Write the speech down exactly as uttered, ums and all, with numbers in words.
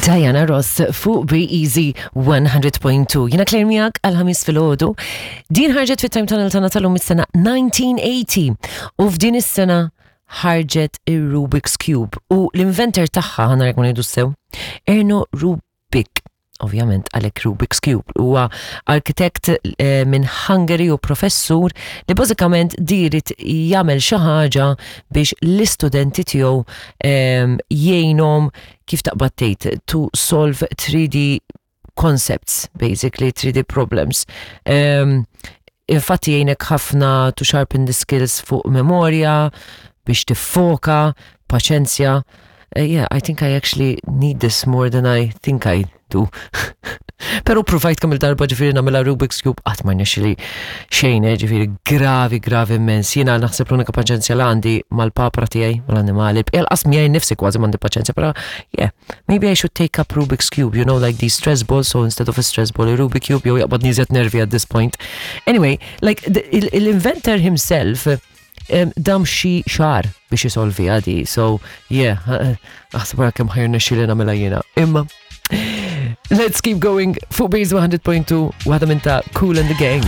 Diana Ross fuq Be Easy one hundred point two. Jiena Claire miegħek għal-Ħamis filgħodu. Din ħarġet fit-Time Tunnel tagħna tal-lum is-sena elf disa' mija u tmenin u f'din is-sena ħarġet ir-Rubik's Cube u l-inventor tagħha, ħa nara jekk ngħidu sew, Erno Rubik, ovvjament għalhekk Rubik's Cube. Huwa arkitekt eh, minn Hungary u professur li bażikament ried jagħmel xi ħaġa biex l-istudenti tiegħu em, jgħinhom, kif taqbad tgħid, to solve three D concepts, basically three D problems. Um, infatti jgħinek ħafna to sharpen the skills fuq memorja, biex tiffoka, paċenzja. Uh, yeah, I think I actually need this more than I think I do. Pero provajt kemm il-darba ġifieri nagħmilha Rubik's Cube, qatt ma rnexxieli xejn, eh, ġifieri gravi, gravi immens. Jiena naħseb l-unika paċenzja li għandi mal-papra tiegħi, mal-annimali. Lanqas miegħi nnifsi kważi m'għandi paċenzja, pero yeah, maybe I should take up Rubik's Cube, you know, like these stress balls, so instead of a stress ball, a Rubik Cube, jew jaqbadni iżjed nervi at this point. Anyway, like the, il-inventor himself um, dam xi xahar biex jisolvi għadi, so yeah, aħseb wara kemm ħa jirnexxieli nagħmilha jiena. Imma, let's keep going fuq Base one hundred point two, waħda minn ta' Kool and the Gang.